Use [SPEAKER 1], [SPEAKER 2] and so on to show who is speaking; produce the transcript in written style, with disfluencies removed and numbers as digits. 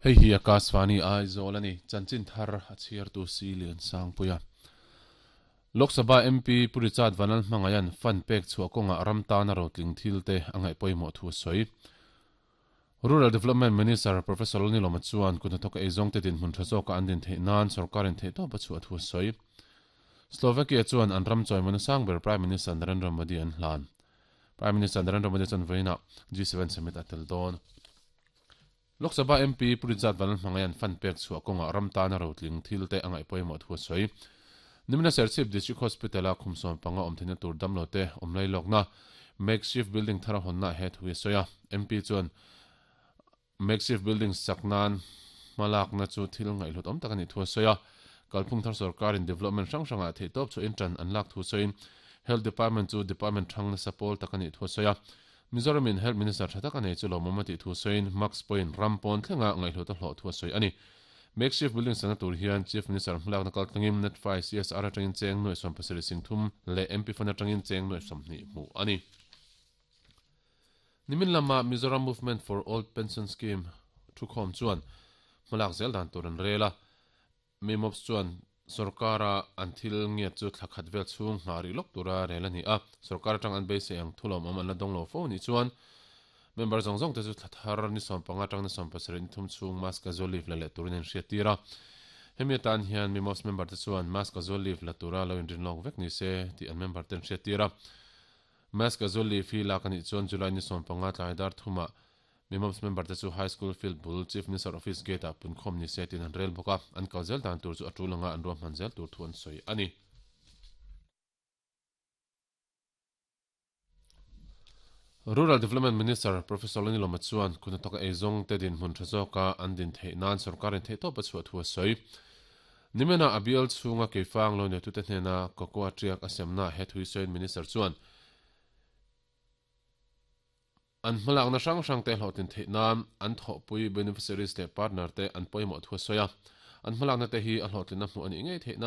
[SPEAKER 1] Hei hi Akashvani Aizawl a ni. Chanchin thar a chhiartu Si Liansangpuia. Lok Sabha MP Pu Richard Vanlal Hmangaian fund pek chhuah kawngah ram tana rotling thil te a ngaih pawimawh thu a sawi. Rural Development Minister Professor Lalnilawma chuan kut hnathawka eizawngte dinhmun tha zawka an din theih nan sorkarin theihtawp a chhuah thu a sawi. Slovakia chuan an ram chawimawna sang ber Prime Minister Narendra Modi an hlan. Prime Minister Narendra Modi chuan vawiinah G7 summit a tel dawn. Lok Sabha MP Pu Rinzat Vanlalhmangaian fund pek chhuah kawngah ram tana rotling thil te a ngaih pawimawh thu a sawi. Nimina Serchhip District Hospital-a khum 15 awm theihna tur damlo te awm lai lawkna makeshift building thar a hawnna he thu hi a sawi a. MP chuan makeshift building sak nan hmalakna chu thil ngaihhlut awm tak a nih thu a sawi a. Kalphung thar sorkarin development hrang hrangah theihtawp chhuahin tan an lak thu sawiin Health Department chu department hrang nasa pawl tak a nih thu a sawi a. Mizoramin Health Minister tha tak a nei chu lawmawm a tih thu sawiin Max pawhin ram pawn thlenga ngaihhlut a hlawh thu a sawi a ni. Makeshift building sakna tur hian Chief Minister hmalakna kaltlangin Netfai CSR atangin cheng nuaih 70 singthum leh MP Fund atangin cheng nuaih 20 hmuh a ni. Nimin lama Mizoram Movement for Old Pension Scheme thukhawm chuan hmalak zel dan tur an rel a. Mimops chuan sorkara an thil ngiat chu thla khat vel chhung nghah rih lawk tura rel a ni a, sorkar atang an beisei ang thulawmawm an la dawng lo fo nih chuan member zawng zawng te chu thla thar ni 15 atang ni 70 ni thum chhung mask a zual leave la leh turin an hriattir a. Hemi atan hian Mimops member te chuan mask a zual leave la tura lo inrin lawk vek ni se tih an member ten hriattir a. Mask a zual leave hi lak a nih chuan July ni 15 tlai dar thumah Mimops member te chu High School field bul Chief Minister Office gate ah punkhawm ni se tiin an rel bawk a, an kal zel dan tur chu a tul anga an ruahman zel tur thu an sawi a ni. Rural Development Minister Professor Lanilawma chuan kut hnathawka eizawng te dinhmun tha zawka an din theih nan sorkarin theihtawp a chhuah thu a sawi. Nimena a bial chhunga keifang lo neitute hnena cocoa tiak a semna he thu hi sawiin Minister chuan, An hmalakna hrang hrangte hlawhtlin theih nan an thawhpui beneficiaries leh partner te an pawimawh thu a sawi a. An hmalakna te hi a hlawhtlinna hmuh a nih ngei theih nan.